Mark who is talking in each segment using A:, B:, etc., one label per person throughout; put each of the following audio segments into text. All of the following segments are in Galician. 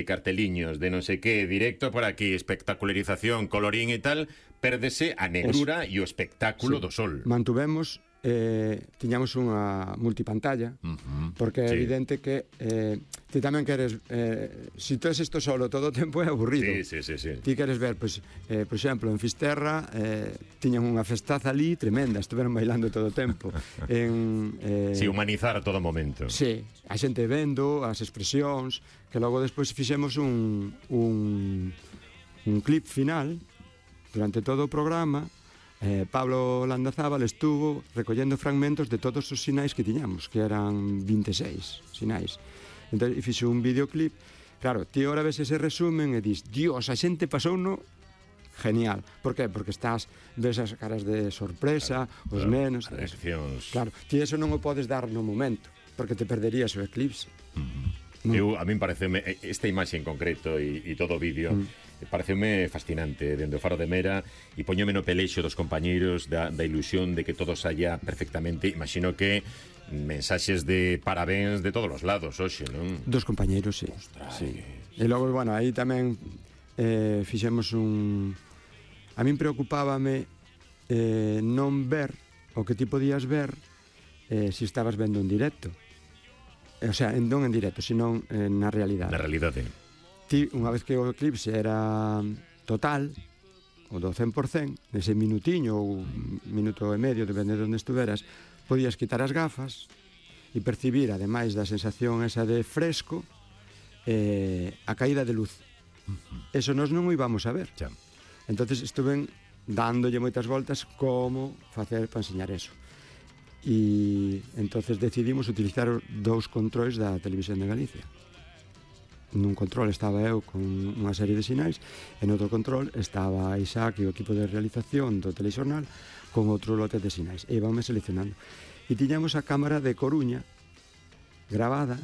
A: carteliños de non sei que, directo por aquí, espectacularización, colorín e tal, pérdese a negrura e o espectáculo do sol.
B: Mantuvemos, tiñamos unha multipantalla, porque é evidente que ti tamén queres, se tes isto solo todo o tempo é aburrido.
A: Sí.
B: Ti queres ver, pois, por exemplo, en Fisterra tiñan unha festaza ali tremenda, estuveron bailando todo o tempo.
A: Si, humanizar a todo momento.
B: Sí, a xente vendo as expresións, que logo despois fixemos un clip final durante todo o programa. Pablo Landazábal estuvo recollendo fragmentos de todos os sinais que tiñamos, que eran 26 sinais. Entón, fixe un videoclip. Claro, ti ahora ves ese resumen e dis, Dios, a xente pasouno genial. Por qué? Porque ves as caras de sorpresa, os nenos.
A: As reaccións.
B: Claro, ti eso non o podes dar no momento, porque te perderías o eclipse.
A: A min pareceume esta imaxe en concreto e todo o vídeo pareceume fascinante dende o Faro de Mera e poñome no pelexo dos compañeiros da ilusión de que todo saia perfectamente. Imagino que mensaxes de parabéns de todos os lados hoxe, non?
B: Dos compañeiros, sí.
A: Ostras,
B: sí. E logo, bueno, aí tamén fixemos un... A min preocupábame non ver o que ti podías ver se estabas vendo en directo. O sea, non en directo, sino na realidade.
A: Na realidade.
B: Ti, unha vez que o eclipse era total, o do 100%, nese minutiño ou minuto e medio, depende de onde estuveras, podías quitar as gafas e percibir, ademais da sensación esa de fresco, a caída de luz. Eso nós non o íbamos a ver.
A: Xa.
B: Entonces estuven dándolle moitas voltas como facer para enseñar eso. E entonces decidimos utilizar dous controis da Televisión de Galicia. Nun control estaba eu con unha serie de sinais e no outro control estaba Isaac e o equipo de realización do telexornal con outro lote de sinais e íbamos seleccionando e tiñamos a cámara de Coruña gravada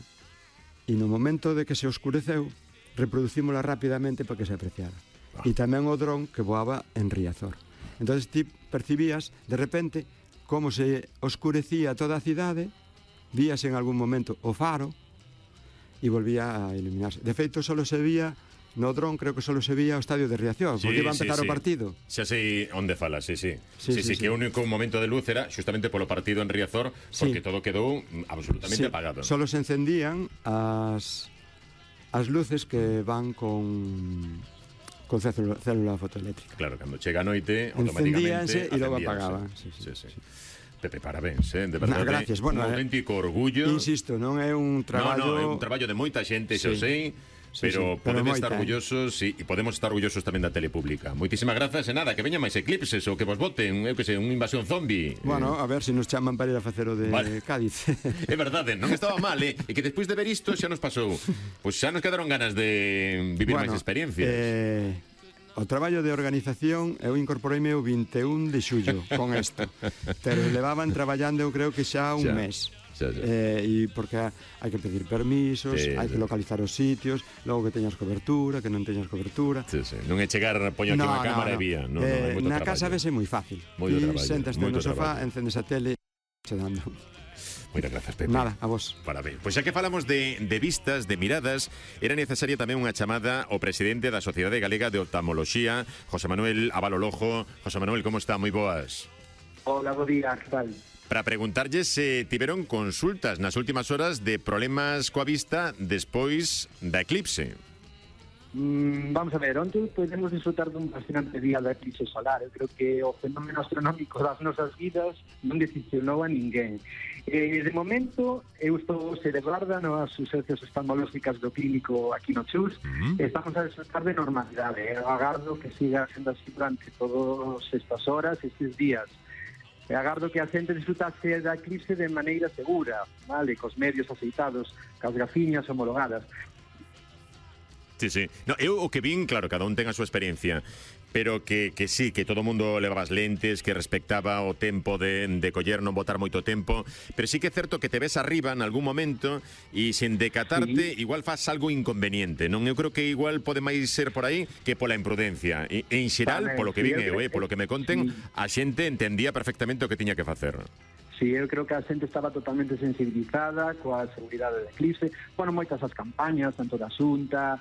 B: e no momento de que se oscureceu reproducímola rapidamente para que se apreciara e tamén o dron que voaba en Riazor. Entonces ti percibías de repente como se oscurecía toda a cidade, víase en algún momento o faro e volvía a iluminarse. De feito, solo se vía no dron, creo que solo se vía o estadio de Riazor, porque iba a empezar o partido.
A: Xa sei onde falas, sí, que o único momento de luz era justamente polo partido en Riazor, porque todo quedou absolutamente apagado.
B: Solo se encendían as luces que van con célula fotoeléctrica.
A: Claro, cando chega a noite, automáticamente
B: encendíanse e logo apagaban. Sí.
A: Pepe, parabéns, de verdade.
B: Gracias. Bueno,
A: un auténtico orgullo.
B: Insisto, non é un traballo...
A: No, é un traballo de moita xente, xa o sei, pero podemos estar orgullosos e podemos estar orgullosos tamén da telepública. Moitísimas grazas e nada, que veña máis eclipses ou que vos voten, eu que sei, unha invasión zombie.
B: Bueno, a ver se nos chaman para ir a facer o de Cádiz.
A: É verdade, non estaba mal, e que despois de ver isto xa nos pasou. Pois xa nos quedaron ganas de vivir máis experiencias.
B: O traballo de organización eu incorporeime o 21 de xullo con isto, pero levaban traballando eu creo que xa un mes. E porque hai que pedir permisos, hai que localizar os sitios, logo que teñas cobertura, que non teñas cobertura.
A: Non é chegar, poño aquí unha cámara e vía.
B: Na casa vese moi fácil. Ti sentaste no sofá, encendes a tele, che dando.
A: Moitas grazas, Pepe.
B: Nada, a vos.
A: Parabéns. Pois xa que falamos de vistas, de miradas, era necesaria tamén unha chamada ao presidente da Sociedade Galega de Oftalmoloxía, José Manuel Abalolojo. José Manuel, como está? Moi boas.
C: Hola, bo día, que tal?
A: Para preguntarlle se tiveron consultas nas últimas horas de problemas coa vista despois da eclipse.
C: Vamos a ver, onte podemos disfrutar dun fascinante día da eclipse solar. Eu creo que o fenómeno astronómico das nosas vidas non decepcionou a ninguén. De momento, eu estou celebrada nas urxencias oftalmolóxicas do clínico aquí no Chus. Estamos a disfrutar de normalidade. Eu agardo que siga sendo así durante todas estas horas, estes días. Agardo que a xente disfrutase da eclipse de maneira segura, vale, cos medios aceitados, cas gafiñas homologadas.
A: Sí. No, eu o que vin, claro, cada un ten a súa experiencia, pero que sí, que todo o mundo levaba as lentes, que respectaba o tempo de coller, non botar moito tempo, pero sí que é certo que te ves arriba en algún momento e sen decatarte, igual faz algo inconveniente, non? Eu creo que igual pode máis ser por aí que pola imprudencia. E en xeral, polo que vin eu, polo que me conten, a xente entendía perfectamente o que tiña que facer.
C: Sí, eu creo que a xente estaba totalmente sensibilizada coa seguridade da eclipse. Bueno, moitas as campañas, tanto da Xunta,